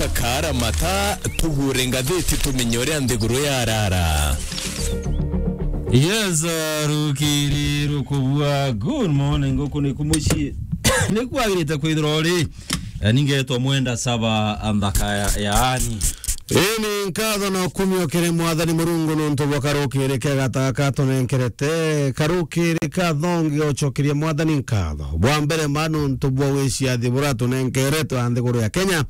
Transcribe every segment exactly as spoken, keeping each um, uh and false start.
Kara mata, tugure ngathiti tumenye uria nthiguru yarara. Yes, uh, rukiri rukubua. Good morning, guku ni kumucii. Ni kwagirite kwithirwa uri. Eh, ningetwa Mwenda Saba, anthaka ya, yaani. Ii ni nkatho na ukumio kiri Mwathani Murungu nuntu bwa karukiri kega taka tunenkerete. Karukiri ka thongi ucokerie Mwathani nkatho. Bwa mbere ma nuntu bwa wiciathi buratunenkerete wa nthiguru ya Kenya.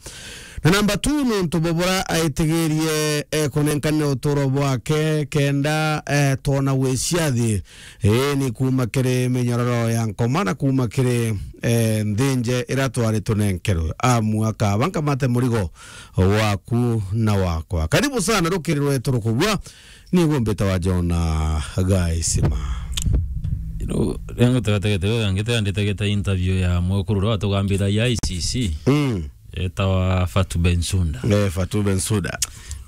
Na namba two, nuntu bwa bura aitigirie, eh, kunenkanira uturo bwake kenda, eh, twona wiciathi. Ii ni kuuma kiri minyororo ya nkoma na kuuma kiri, eh, nthinje ira twari tunenkerwe. Amu akaba nkamate murigo waku na wakwa. Karibu sana rukiri rwetu rukubua. Ni gumbita wa Jona Gaisima. You know, riangu tegategete, riangu tegategete interview ya mwekuru uria watugambithagia I C C. Mm. Etawa Fatu Bensouda. Eh, Fatu Bensouda.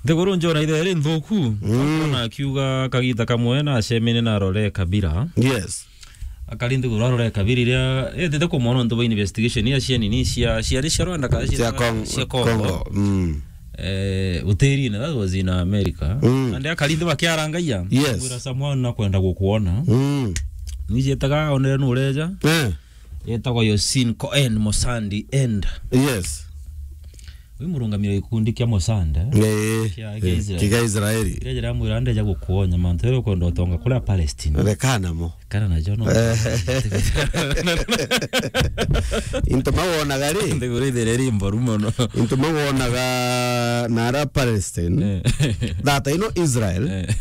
Nthiguru njona ithe ri nthuku. Mm. Akona akiuga kagita kamwe na acemene na Rore Kabira. Yes. Akari nthiguru arore Kabira iria etete kumwona untu bwa investigation ya cia nini cia, ciari cia Rwanda kana cia, cia Cong-, cia Congo. Congo. Mm. Eh, utirine, that was in America. Mm. And akari nthu bakiarangaia. Yes. Wira Samuel na kwenda gukuona. Mm. Nijetaga onere nureja. Eh. Yetagwa Yosin Cohen Mosandi End. Yes. Wi murungamiro gikundi kia Mosanda. Eh, kia, kia eh, Israel. Kia Israeli. Kia Israel amwira ndeja gukuonya mantu ere ukwenda utonga kuria Palestine. Rekana mo. Kana na John. Eh. Into mawonaga ri? Nthiguru ithire ri mboru mono. Into mawonaga na ara Palestine. Eh. Thata ino Israel. Eh.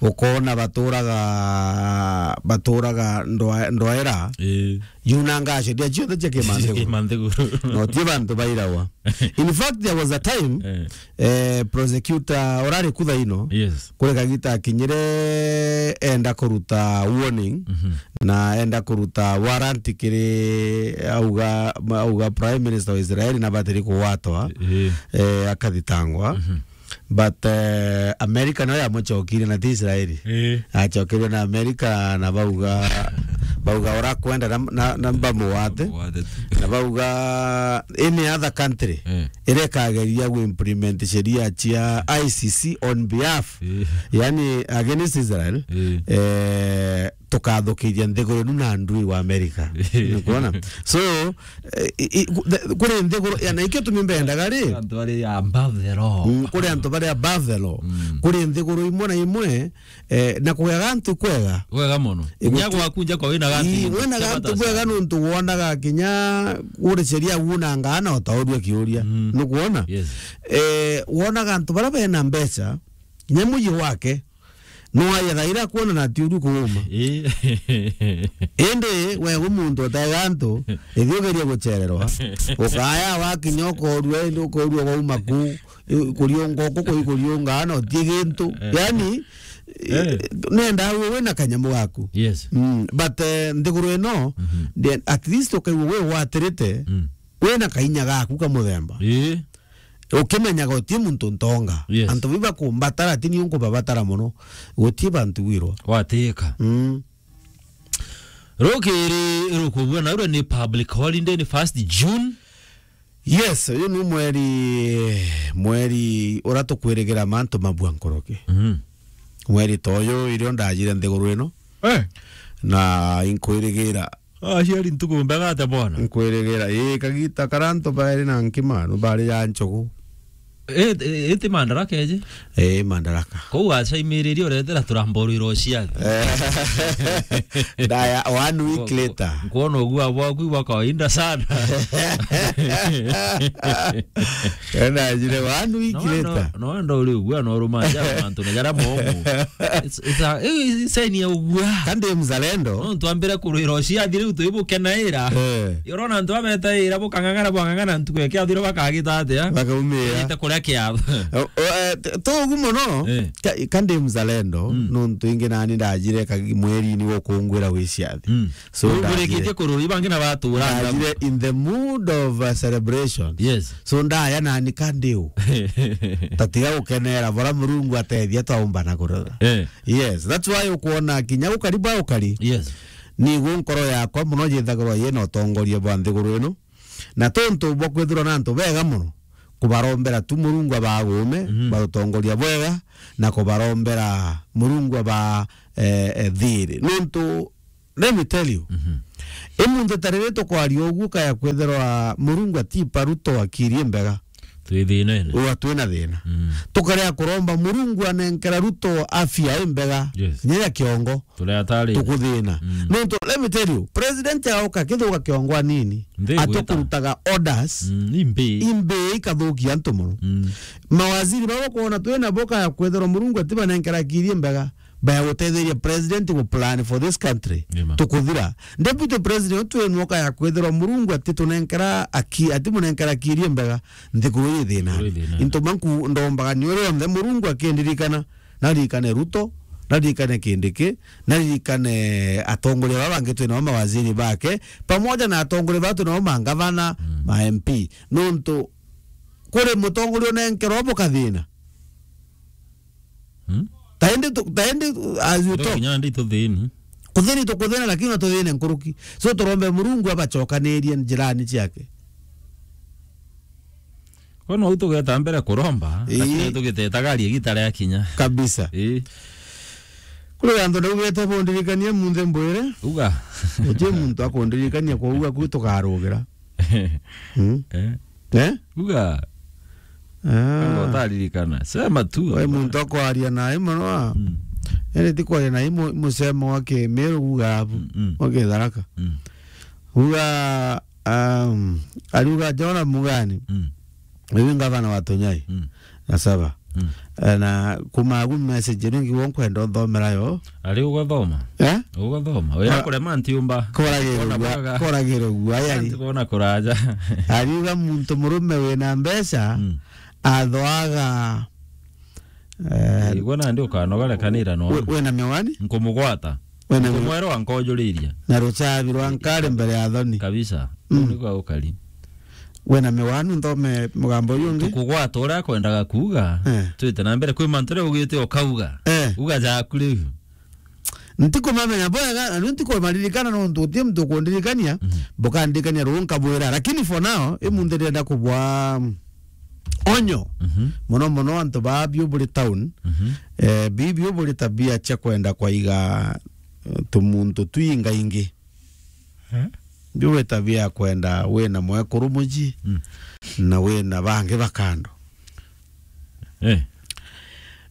Ukona baturaga, baturaga ndwa-, ndwaera. Eh. Yunanga acio ndia ciothe cia kimanthiguru. Kimanthiguru. No ti bantu bairawa. In fact, there was a time, eh, eh, prosecutor urari kutha ino, yes, kuri kagita akinyire enda kuruta warning, mhm, na enda kuruta warrant kiri auga, auga Prime Minister wa Israel na batiri kugwatwa, eh, eh, akathitangwa. Mhm. But, eh, America nayo yamucokirie na ti Israeli. Eh. Acokirie na America na bauga, bauga urakwenda na, na, na mbamugwate. Mbamugwate tu. Na bauga any other country, eh, irekageria gu implement sheria cia I C C on behalf, eh, yani against Israel, eh, eh, tukathukiria nthiguru inu na ndui wa America. Nukwona? So, eh, i, i, ku-, the, kuri nthiguru, ya, na ikio tumi mbendaga ri? Antu bari above the law. Mm, kuri antu bari above the law. Mm. Kuri nthiguru imwe na imwe, eh, na kugeaga antu kwega. Kwega mono. Inya gwaku nja kwa wina gantu, ii, wina gantu kwega nuntu wonaga kinya kuri sheria wunangaa na utaurua kiuria. Mm. Nukwona? Yes. Eh, wonaga antu bara bena mbeca, kinya muyi wake, no aye thaira kuona na ti uru kuuma. Ii. Indi we wi muntu utega antu, ithi ugerie gucererwa. Ukaya wakinya ukorua, indi ukorua wauma ku, i-, kuriunga uku, kuri kuriunga, na uti gintu. Eh. Yani, eh, nenda we wina kanyamu gaku. Yes. Mm, but, eh, nthiguru ino, mhm, then at least ukaigua we watirite, mm, wina kainya gaku ka muthemba. Ii. Ukimenyaga uti muntu ntonga. Yes. Antu biba kumbatara, ti ni unkubabatara mono. Guti bantu wirwa. Watika. Mm. Rukiri rukubua na uria ni public holiday, ni first June. Yes, uyu ni mweri, mweri uria tukwirigira mantu mabua nkoroki. Mhm. Mweri ta uyu, irio ndajire nthiguru ino. Eh. Na inkwirigira Ah, aciari ntuku mbega atia bwana? Nkwirigira, ii, kagita karia antu bairi na nkima, no bari ya nchugu. Eh, eh, iti Mandaraka eje? Ii, Mandaraka. Kou acaimiririe uretera turamborwira uciathi. Eh. Ndaya, one week later. Nkwona ugua bwaku bwa kawaida sana. Ena njire one week later. No wenda uri ugua no rumanja mantu na jara momo. It's, it's a, eh, saini ya ugua. Kandi mzalendo. No twambire kurwira uciathi riu twibukenaira. Eh. Urona antu abetaira bukang'ang'ana bwang'ang'ana ntuku ikiathire bakagita atia? Bakaumira. Bagite kuria kiatho. O, o, eh, t-, to ugu mono. Eh. Ka-, kandi mzalendo, mm, nontu ingi nani ndajire kagi mweri-ini gukungwira wiciathi. Mm. So, urikitie kururi bangi na batura ndajire in the mood of, uh, celebration. Yes. So, ndaya nani kandi u. Tatiga gukenera bora Murungu atethia twaumba na kurura. Eh. Yes, that's why ukwona kinya gukari bwa ukari. Yes. Nigu nkoro yakwa muno yithagirwa yina utongoria bwa nthiguru ino. Na tontu bwa kwithirwa na antu bega mono, kubarombera tu Murungu abagume, mhm, barutongoria bwega, na kubarombera Murungu aba, eh, eh, thiri. Nontu, let me tell you, mhm, imunthi ta riri tukwaria uguo, kaya kwithirwa Murungu atipa Ruto akiri mbega. Twi thinene. Uga twina thina. Mm. Tukaria kuromba Murungu anenkera Ruto afya imbega. Yes. Kinya ya kiongo. Turia atari. Tukuthina. Mm. Nontu, let me tell you, president auka akithuka kiongo anini. Nthi igwita. Atukurutaga orders. Mm, imbi. Imbi ikathukia antu mono. Mm. Mawaziri baba kwona twina boka ya kwithirwa Murungu atibanenkera akiri mbega. Baya gutetheria president gu plan for this country. Nima. Tukuthira. Deputy president twinwoka ya kwithirwa Murungu atitunenkera aki-, atimunenkera akiri mbega. Nthiguru ii thina. Nthiguru ii thina. Into manku ndombaga ni uria onthe Murungu akindirikana. Naririkane Ruto, naririkane Kindiki, naririkane atongoria baba bangi twinao, mawaziri bake, pamoja na atongoria baba twinao, mangavana, mm, ma M P. Nontu kuri mutongoria unenkerwa bukathina. Hmm? Taindi tu-, taindi, as you talk. Kinya ndi tuthini. Kuthini tukuthina, lakini no tuthine nkuruki. So turombe Murungu abacokanirie njirani ciake. Kono u tugeta mbere kuromba, ii, lakini tugitetaga arie gita ria kinya. Kabisa. Ii. Kuri antu naugete bundirikanie munthe mbwire. Uga. Uti muntu akundirikania kwa uga kwi tukarugira. Hmm? Eh? Eh? Uga. Ah. Kama utaririkana. Sema tu. We muntu akwaria na imo no. Mm. Ene ti kwaria na imo musemo wa Kimiru uga abu. Mm, mm. Wa Kitharaka. Mm. Uga, um, ariuga Jona Mugani. Mm. Uyu ngavana wa Tunyai. Mm. Na Saba. Mm. Eh, na kuma agu message ino ngiwo nkwenda nthomera yo. Ari ugathoma? Eh? Ugathoma. Oya kurema ntiumba. Koragirwo gua, koragirwo gua yari. Ntikona kuraja. Ariuga muntu murume wina mbeca, mm, athoaga, eh, igua nandi ukanoga rekanira no. We-, wina miwani? Nkumugwata. Wina miwani? Nkumwera ankojuriria. Na ruchabi rwa nkari mbere ya thoni. Kabisa. Mm. Niko ukari. Wina miwani nthome mugambo uyu ungi? Tukugwata uria akwendaga kuuga. Eh. Twite na mbere kwi mantu ria ugite ukauga. Eh. Uga jaku riu. Ntikumamenya bwega, na riu ntikumaririkana nontu uti muntu ukundirikania, mhm, bukandirikania ruu nkabwira. Lakini for now, imunthi ndirenda kubwa onyo. Mhm. Mono mono antu ba biu buri town, mhm, eh, bi-, biu buri tabia cia kwenda kwaiga, eh, tumuntu twingaingi. Eh? Biu buri tabia ya kwenda wina mwekuru muji, mm, na wina bangi ba kando. Eh.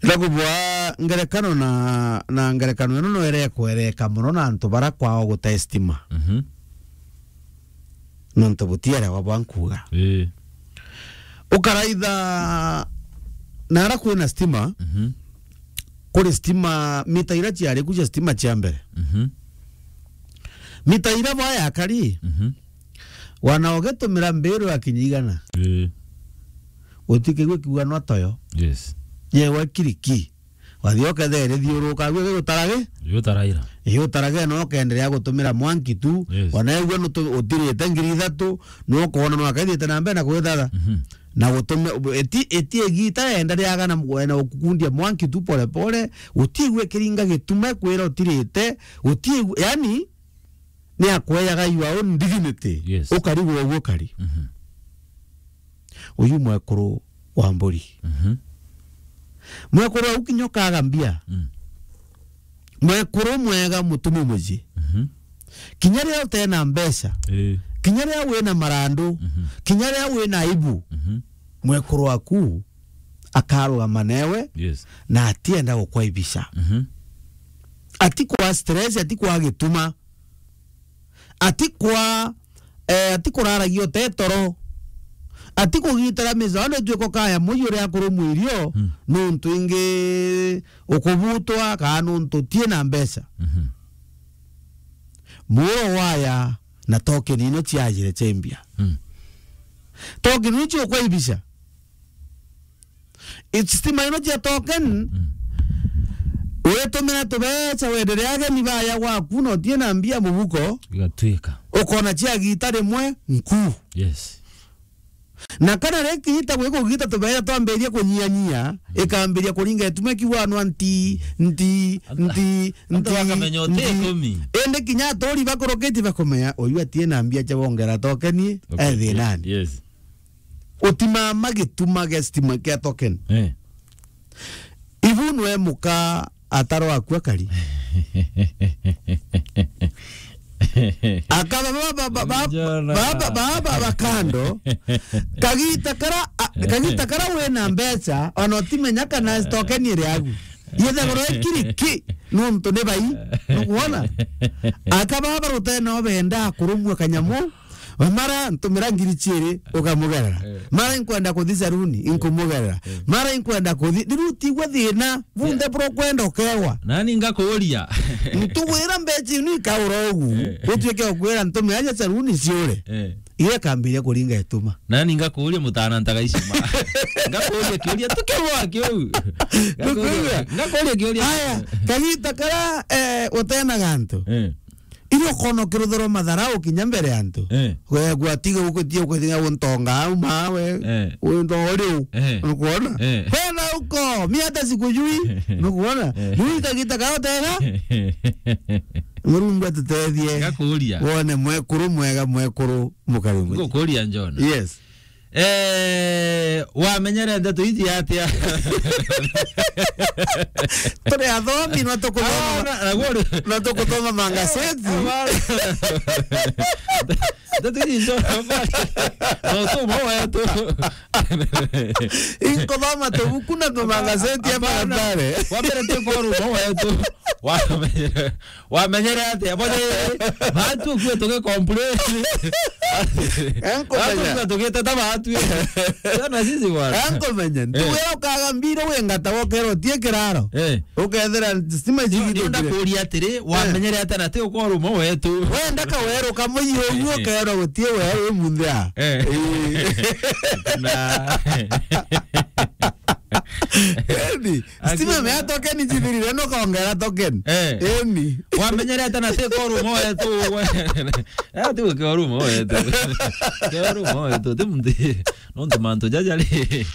Ila kubwa ngerekano na, na ngerekano ino no irekwereka mono na antu bara kwao gute stima. Mhm. Nontu butiere wa bwa nkuga. Eh. Ukaraitha nara kwina stima, mhm, kuri stima, mita ira ciari ku cia stima cia mbere. Mhm. Mita ira bwa yakari, mhm, wana ugitumira mbiru ya kinya igana. Eh. Utikigwe kiuga no toyo. Yes. Yewe kiriki. Wathi ukethere thiuruka gwe gutarage. Gutaraira. Iyo tarage no kenderea gutumira mwanki tu. Yes. Wana ewe no utirite ngiri ithatu, no kona no akaithite na mbere na kwithatha. Mhm. Na gutume eti, eti igita enda riaga na mgwena ukukundia mwanki tu pole pole, utigwe kiringa gitume kwira utirite, utigwe, yani, ni akweyaga your own dignity. Yes. Ukarigwa uguo kari. Mhm. Uyu mwekuru wa mburi. Mhm. Mwekuru au kinya ukaga mbia. Mm. Mwekuru mwega mutumi muji. Mhm. Kinya riria utena mbeca. Eh. Kinya riria wina marandu. Mhm. Kinya riria wina aibu. Mhm. Mwekuru waku akarugama newe. Yes. Na atienda gukwaibisha. Mhm. Atikwa stress, atikwa gituma. Atikwa, eh, atikuraragia utetoro. Atikugitira mizo, ando tuiko kaya muji uria akuru mwirio, mm, nuntu ingi ukubutwa, kana nuntu utie na mbeca. Mhm. Muro waya na token ino ciajire ciambia. Mm. Token ino ciukwaibisha. It's stima ino cia token. Mm. Witumira tubeca, wenderea ageni baya gwaku, na utie na mbia mubuko. Igatwika. Ukona cia gita rimwe, nku. Yes. Na kana riki ita gwikugita tubeca twambiria kunyianyia, mm, ikambiria kuringa itume kiwanwa nti, nti, nti, nti, nti. Indi kinya aturi bakurukiti bakumenya, uyu atie na mbia cia wongera token, okay, ethinani. Yes. utimama gituma gia stima kia token. Eh. Ibu nwe muka ataro akua kari. Akaba baba, baba, baba, Njona. Baba, baba, baba kando. Kagita kara, a, kagita kara wina mbeca, ona utimenya kana token iri agu. Yethagirwa ikiri ki, nontu ni bai. Nukwona? Akaba baba rutene obenda kurumua kanyamu. Mara ntumira ngiri ciiri ukamugerera. Eh. Mara inkwenda kuthi saruni, eh, inkumugerera. Eh. Mara inkwenda kuthi, riu tigwe thina, bunthe, eh, bro kwenda ukewa. Nani ngakuuria? Ntugwira mbeca inu ikaura ugu. Eh. Utuike ukwira ntumira aja saruni ciure. Eh. Iria kambiria kuringa ituma. Nani ngakuuria mutana ntaga icima? Ngakuuria kiuria tukirwa kiu. Ngakuuria, ngakuuria kiuria. Aya, kagita kara, eh, utena gantu. Eh. Irio kono kirutherwa matharau kinya mbere ya antu. Eh. We gwatiga gukutia gukutia guntonga au mawe. Eh. Undo riu. Eh. Nukwona? Eh. Kwenda uko, mi hata sikujui. Nukwona? Eh. Nui kagita kaotega. Murungu atutethie. Ngakuuria. Wone mwekuru mwega, mwekuru mukari mwega. Ngukuuria, Njona. Yes. Eh, wamenyere ndeto iji atia? Turi athomi, no tukuthoma, ah, na, na gori, no tukuthoma mangaseti. Ah, bana. Ndeto iji njo, no tu mo wetu. Inkuthoma tubuku na tumangaseti ya, hapana, barabara. Wambere ti koru mo wetu. Wamenyere. Wamenyere atia? Bo ni batu kwe tuge complain. Enkomenya. Batu kwe tugiteta batu. Sana sisi bwana. Enkomenya. Eh. Ntuwira ukaga mbiro wingata wokero tie kiraro. Eh. Ukethira stima. Ni, ni nda ijigithukire. Kuria atiri, eh, wamenyere atia na ti ukorwo mo wetu? Wenda ka weru kamuyi uguo, eh, kero gutie weru wi munthia. Eh. Eh. Na Eni, stima mea token njithirire, no kongera token. Eh. Eni. Wamenyerete na ti koru moe tu. Eh, ti koru moe tu. Koru moe tu, ti muntu. Nontu mantu jaja ri.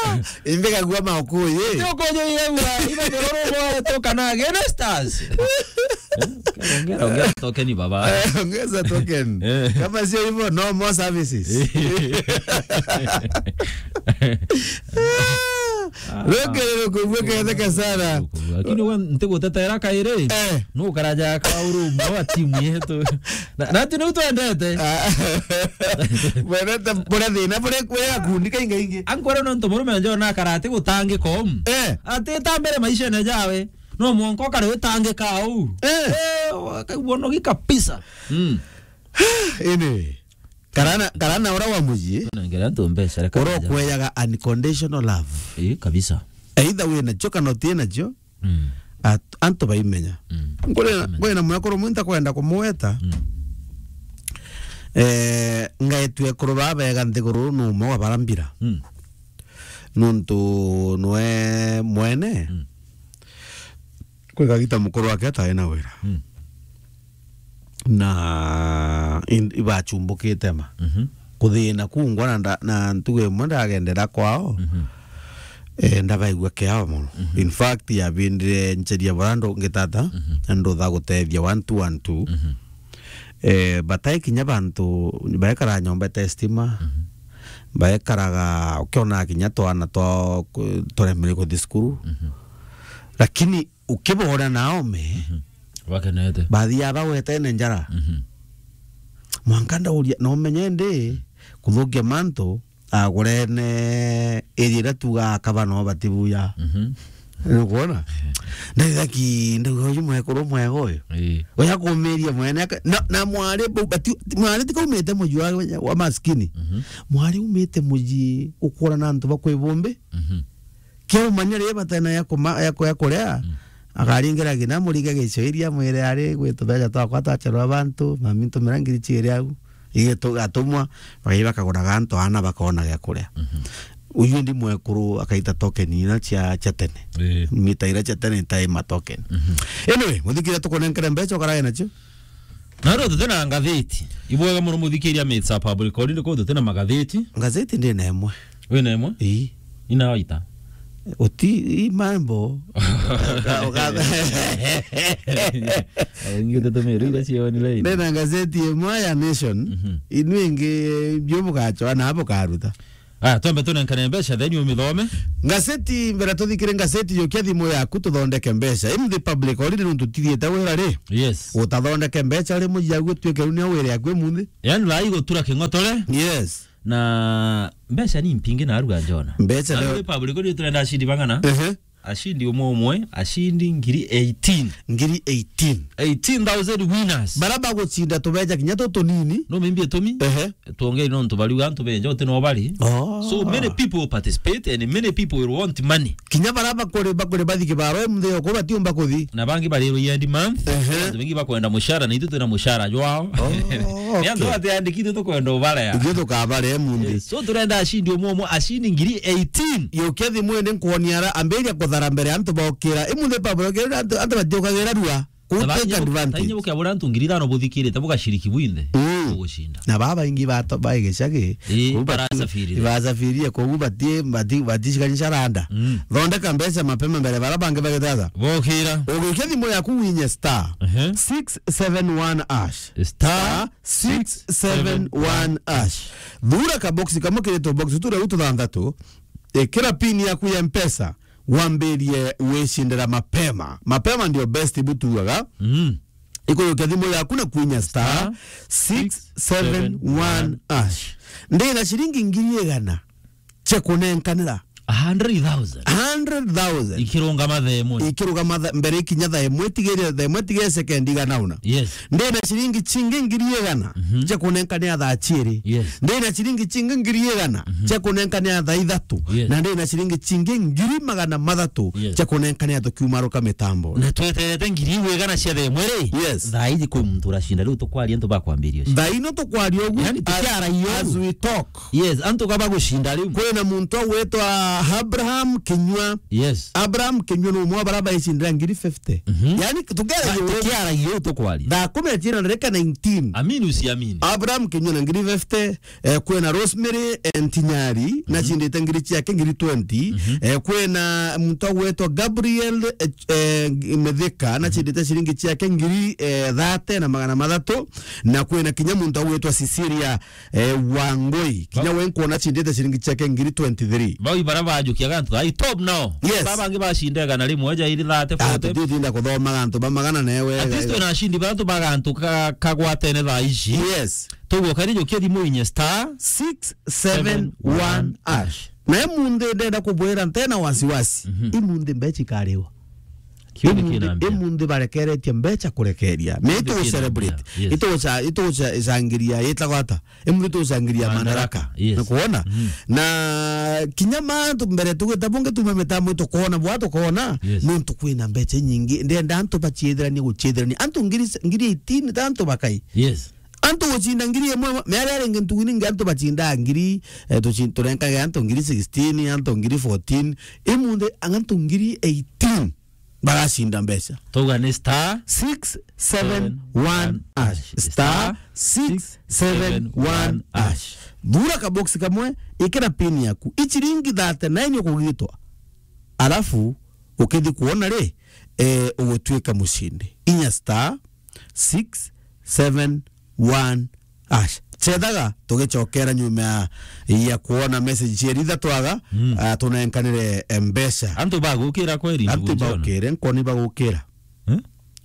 Ah, imbe kagua maukuyi. Ti ukunyo iregua, ibe koru moe tu kana gene stars. Eh, ongera, ongera token, baba. Eh, ongeza token. Eh. Kama sio hivyo, no more services. Ah. Reke rero kubua ketheka sana. Lakini we ntigutetera kairi. Eh. Nukaraja ka urumo wa timu yetu. Na, na tu niu twendete. Ah. Wendete buria thina, buria, buria gakundi kaingaingi. Ankwere nontu murume njona karati gutangika umu. Eh. Ati ta mbere maishene jawe. No mwanka ukare utangika au. Eh. Eh, wakaigua unogi kabisa. Mm. Ini. Karana, karana ura wa muji. Nengera antu mbeca, reka ura nja. Ukweyaga unconditional love. Ii, kabisa. Either wina cio kana utina cio, mm, at-, antu baimenya. Mm. Ngwina, ngwina mwekuru umwe ntakwenda kumweta. Mm. Eh, ngaitwe ekuru baba bega nthiguru ni umwe wa bara mbira. Mm. Nuntu nwe mwene, mm, kwi kagita mukuru wake atai na wira. Mm. Na in-, ibachumbukite ma. Mhm. Kuthina kuu ngwa na nda-, na ntugu imwe ndagendera kwao. Mhm. Eh, ndabaigua kiao mono. Mhm. In fact, yabindire ncheria bura ndu ngitata, mhm, na ndutha gutethia one two one two. Mhm. Eh, batai kinya bantu baekara nyomba ite stima. Mhm. Baekaraga, ukiona kinya twana twa ku-, turemere kuthi cukuru. Mhm. Lakini ukibora na ome, mhm, bakenete. Bathia bawetene njara. Mhm. Mwanka ndauria, no menye ndi, kuthukia mantu, agurene area iria tuga akaba no batibuya. Mhm. Nukwona? Ndaithaki, ndauga uyu mwekuru mwega uyu. Ii. Uya kumiria mwene aka-, na, na mwari bu-, bati-, mwari tikaumite muji wa, wa maskini. Mhm. Mwari umite muji ukura na antu ba kwibumbi. Mhm. Kiaumania ri batena ya kuma-, ya ku-, ya kuria, mm, akaringira ngina murige gicio iria mwire ari gwi tubeca twakwa twacherwa bantu, mami ntumira ngiri ciiri au, igitu-, atumwa, bagai bakaguraga antu ana bakona gia kuria. Mhm. Uyu ndi mwekuru akaita token ina cia, cia tene. Ii. Mita ira cia tene itai ma token. Mhm. Anyway, muthikiria tukunenkere mbeca ukarae nacio. Na riu tuti na ngatheti. Ibwega muno muthikiria Mits a Public Holiday, kuu tuti na magatheti. Ngatheti ndi na imwe. Wi na imwe? Ii. Ina waita? Uti, i mambo. Uka-, uka-, Ingi tutumire iria cia online. Ndena ngazeti imwe ya Nation, mhm, inu ingi, eh, bio bugachwa na bukaruta. Ah, twambe tunenkane mbeca, then umithome. Ngazeti, mbere tuthikire ngazeti, yukia thimu yaku tuthondeke mbeca. In the public holiday nuntu tutithiete wira ri? Yes. Utathondeke mbeca ri mujiagu tuike riu ni wira yaku imunthi? Yani, lai gutura king'otore. Yes. Na mbeca ni mpingi na aruga njona. Mbeca na leo public holiday turenda ashindi bang'ana? Ehe. Ashindi umwe umwe, ashindi ngiri eighteen. Ngiri eighteen. Eighteen thousand winners. Bara bagucinda tubeja kinya tutunini. No maybe itumi? Ehe. Tuongeri nontu bariuga antu benja uti no bari. Oh. So many people will participate and many people will want money. Kinya bara bakuri, bakuri bathi kibaro, mtheo ko batiumba kuthi. Na bangi bari end month. Ehe. Antu bengi bakwenda mushara, na ithu twina mushara jwao. Oh, okay. Ni antu atiandikithie tukwenda ubarea. Ithu tukabarea munthi. Yes. So turenda ashindi umwe umwe, ashindi ngiri eighteen. Yukia thimu indi nkuonia ara, ambiria kuthara mbere antu bokira. Imunthi Pablo, kira antu, antu batiokagira rua. Ku take advantage. Tainya bukia bura antu ngiri ithano buthikirite, bugashiriki bwinthe. Mm. Bugucinda. Na baba ingi bato-, baigicagi. Ii, ku bati-, barasafirie. Basafirie, kogu bati-, bati-, batishikanyisha randa. Mm. Thondeka mbeca mapema mbere bara bangi bagithatha. Bokira. Ugikia thimu yaku winye star, ehe, six seven one hash. Star six seven one hash. Thura kaboksi kamwe kiritwo boksi turia u tuthanthatu. Ikira pin yaku ya Mpesa, wambirie wicindira mapema. Mapema ndio best butuaga. Mm. Ikuyukia thimu yaku na kwinya star six seven one hash. Ndina ciringi ngiri igana cia kunenkanira. A hundred thousand. Hundred thousand. Ikirungama thaa imwe. Ikirungama tha-, mbere ikinya thaa imwe, tigire thaa imwe, tigire sekendi igana una. Yes. Ndina ciringi cingi ngiri igana, mhm, cia kunenkanira thaa ciiri. Yes. Ndina ciringi cingi ngiri igana, mhm, cia kunenkanira thaa ithatu. Yes. Na ndina ciringi cingi ngiri magana mathatu, yes, cia kunenkanira tukiumaruka mitambo. Na tweterete ngiri igana cia thaa imwe ri? Yes. Thaa iji kwi muntu uracinda, riu tukwaria antu bakwambiria ucio. Thaa ino tukwaria ugu, yani, as, tukiaragia ugu, as we talk. Yes, antu ka bagucinda riu. Kwina muntu agwitwa Abraham Kinyua. Yes. Abraham Kinyua ni umwe wa bara baicindira ngiri fifty. Mhm. Yani, tukiaragia ugu, tukiaragia ugu tukwaria. Thaa kumi na ciina ndarika nineteen. Amini usiamini. Abraham Kinyua na ngiri fifty, eh, kwina Rosemary, eh, Ntinyari, mhm, nacindite ngiri ciake ngiri twenty. Mhm. Eh, kwina muntu agwitwa Gabriel, eh, eh, Mithika, nacindite ciringi ciake ngiri, eh, thirty na magana mathatu. Na kwina kinya muntu agwitwa Cecilia eh, Wangui. Kinya we nkuona acindite ciringi ciake ngiri twenty-three. Bau ibara bajukiaga antu, ai, top now. Yes. Baba bangi bacinda igana rimwe, ja iri thirty, ah, forty. Tutitinda kuthoma antu ba magana newe. At least twina acindi bathatu ba gantu ka-, kagwatene thaa ici. Yes. Tuguo kari jukia thimu inye star six seven one hash. Na imunthi ndenda kubwira ntena wasiwasi. Mhm. Imunthi mbeca ikariwa. Kiu ni imunthi, kinambia. Imunthi barekeretie mbeca kurekeria. Ni itu celebrate. Yes. Itu ca-, itu ca-, cangiria, itagwa ata? Imunthi tucangiria Madaraka. Madaraka. Yes. Ni kuona? Mhm. Na kinya mantu mbere tugita bungi tuma mitambo tukoona bwa tukoona. Yes. Nontu kwina mbeca nyingi. Ndenda antu baciithiranie guciithirania. Antu ngiri, ngiri eighteen ta antu bakai. Yes. Antu gucinda ngiri imwe, miaria ringi ntugu ningi antu bacindaa ngiri, eh, tuci-, turenkage antu ngiri sixteen, antu ngiri fourteen. Imunthi antu ngiri eighteen baracinda mbeca. Tuga ni star six seven one hash. Star six seven one hash. Thura kaboksi kamwe, ikira pin yaku. Iciringi thirty-nine ukugitwa. Alafu, ukithi kuona ri, eh, ugutuika mucindi. Inya star six seven one hash. Cethaga, tugicokera nyuma ya, ya kuona message cia ritha twaga, mm, ah, tunenkanire, eh, mbeca. Antu bagukira kweri, antu ndugu John? Bagukire, nkoni bagukira. Eh?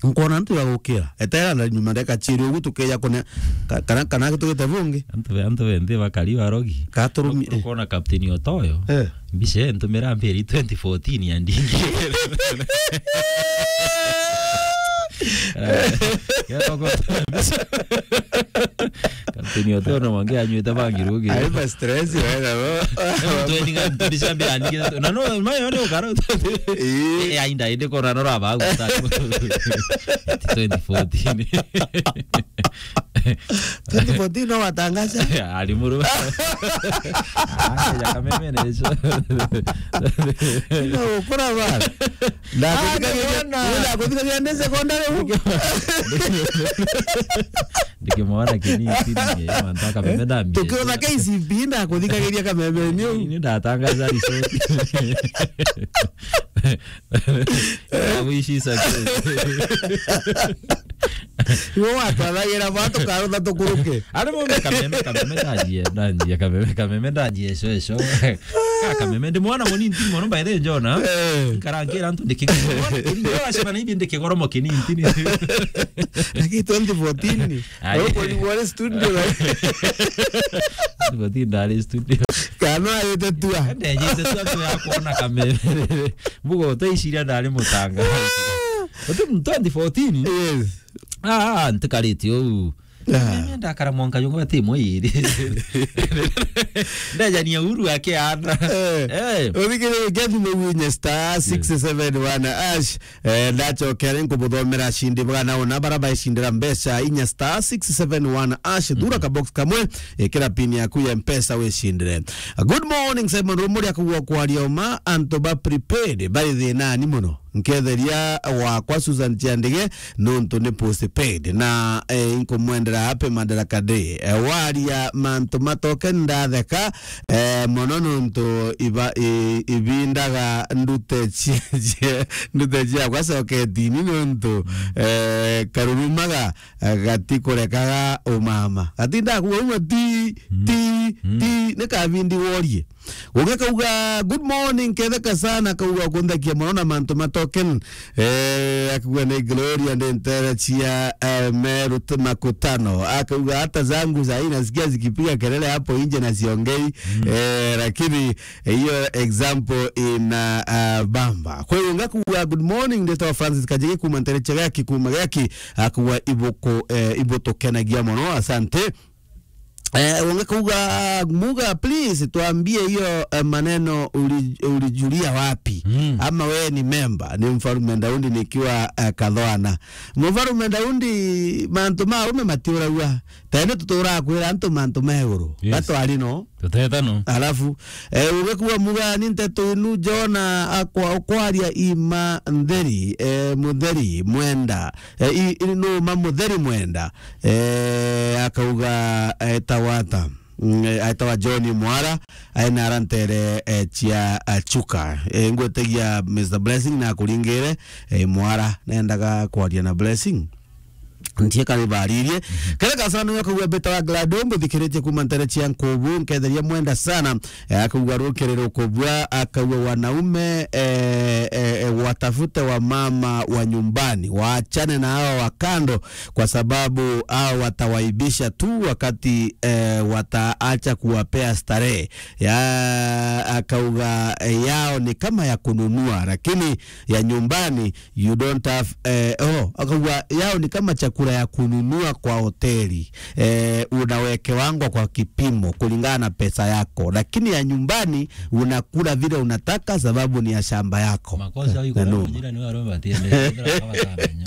Nkona antu bagukira. Etera na nyuma ndeka ciiri ugu tukeja kune, ka-, kana, kana tugite bungi. Antu be, antu be nthi bakari barogi. Ka turumi-, tukona Captain Otoyo. Eh. Mbica ntumira mbiri twenty fourteen ya ndingi. Kero ko. Captain Otoyo no mwangi anywite bangi rugi. Ai, ba stress, wega, bo. Emu twenty nga, twenty champion, na no, mayo ni ukaro. Eh. Eh, ainda, indi kora no raba guta. Twenty fourteen. Twenty fourteen no watangaza? Ari muru. Ah, ya kameme ni icio. Ino ukura bana. Ndakuthikagiria, ndakuthikagiria ndi secondary. Ndikimwona kinini, mantu a kameme ndambia. Tukiona K C B ndakuthikagiria kameme ni u. Ni ndatangaza result. Ndagwicisa. Iwe watwathagira ba tukarutha tukuruke. Ari mumbe kameme, kameme ndajie, ndajie kameme, kameme ndajie, eso, eso. Ka kameme, ndi mwana munini, ndi mwana by the way, Jona. Eh. Nkarangira antu ndikigoro. Ndi mwana, ndi kigoro mo kinini, ndi. Lakini twenty fourteen, ai, uko ni wale studio, like. Twenty fourteen ndari studio. Kana ayete tua. Ndejete tua tu ya kuona kameme. Mbugo, utaiciria ndari mutanga. Uti twenty fourteen? Yes. Ah, ah, ntikaritie uu. Ah. Mimi ndakara mwanka yungu ati mwiri. Ndejania uru akiana. Eh. Eh. Uthikire kethi mugunya star six seven one ash. Eh, ndacokere nkubuthomera cindi bwana ona bara baicindira mbeca inya star six seven one ash. Thura ka box kamwe, ikira pin yaku ya mpesa wicindire. Good morning, Simon Rumuri akugwa kwaria uma, antu ba prepared, bari thinani muno. Nketheria wakwa Susan Chiandige, nontu ni postpaid. Na, eh, inkumwendera happy Madaraka Day. Eh, waria mantu matoke ndatheka, eh, mono nontu iba-, i-, ibindaga ndute cia, cia, ndute ciakwa soketini nontu, eh, karurumaga, eh, gatikurekaga umama. Gatindaga kuuma ti, ti, ti, ni kabindi worie. Gugikauga, "Good morning, ketheka sana," akauga, "Kunthekia mono na mantu ma token." Eh, akauga, "Ni Gloria, ndi ntere cia, eh, Meru t-, Makutano." Akauga, "Hata zangu saa hii nasikia zikipiga kelele hapo nje na siongei." Eh, lakini, eh, hiyo example ina, ah, bamba. Kwa hiyo, ngakauga, "Good morning, ndetwa Francis Kajigi kuma ntere cia Gaki, kuma Gaki." Akauga, "Ibuku, eh, ibutukenagia mono, asante." Eh, unge kuuga, Muga, please, tuambie hiyo, eh, maneno uli-, ulijulia wapi? Mm. Ama wewe ni memba, ni Mfarume Daudi nikiwa, eh, Kathoana. Mfarume Daudi, mantu ma ume matiuragua. Tene tutura kwira antu mantu ma iguru. Yes. Gatwari no. Tuteta no. Alafu, eh, uge kuuga Muga, ni nteto inu Jona akwa-, kwaria ima ntheri, eh, mutheri, mwenda. Eh, i-, i-, numa mutheri mwenda. Eh, akauga, eh, etagwa ata? Mm, eh, etagwa John Mwara, aina ara ntere, eh, cia, eh, Chuka. Eh, ngwetagia Mister Blessing na akuringire, eh, Mwara, nendaga kwaria na Blessing. Ntie kari baririe. Mhm. Kere kasana yo akauga beta wa Glado, mbuthikiritie kuma ntere cia Nkubu, nketheria mwenda sana. Eh, akauga rukiri rukubua, akauga wanaume, eh, eh, eh, watafute wa mama wa nyumbani, waachane na hawa wa kando, kwa sababu hao watawaibisha tu wakati, eh, wataacha kuwapea starehe. Ya, akauga, eh, yao ni kama ya kununua, lakini ya nyumbani you don't have, eh, oh, akauga yao ni kama chakula ya kununua kwa hoteli. Eh, unawekewangwa kwa kipimo kulingana na pesa yako, lakini ya nyumbani unakula vile unataka sababu ni ya shamba yako. Makosa iko na hapo, noma. Majirani wao wamepatia ndio, ndio kama sana, nyo.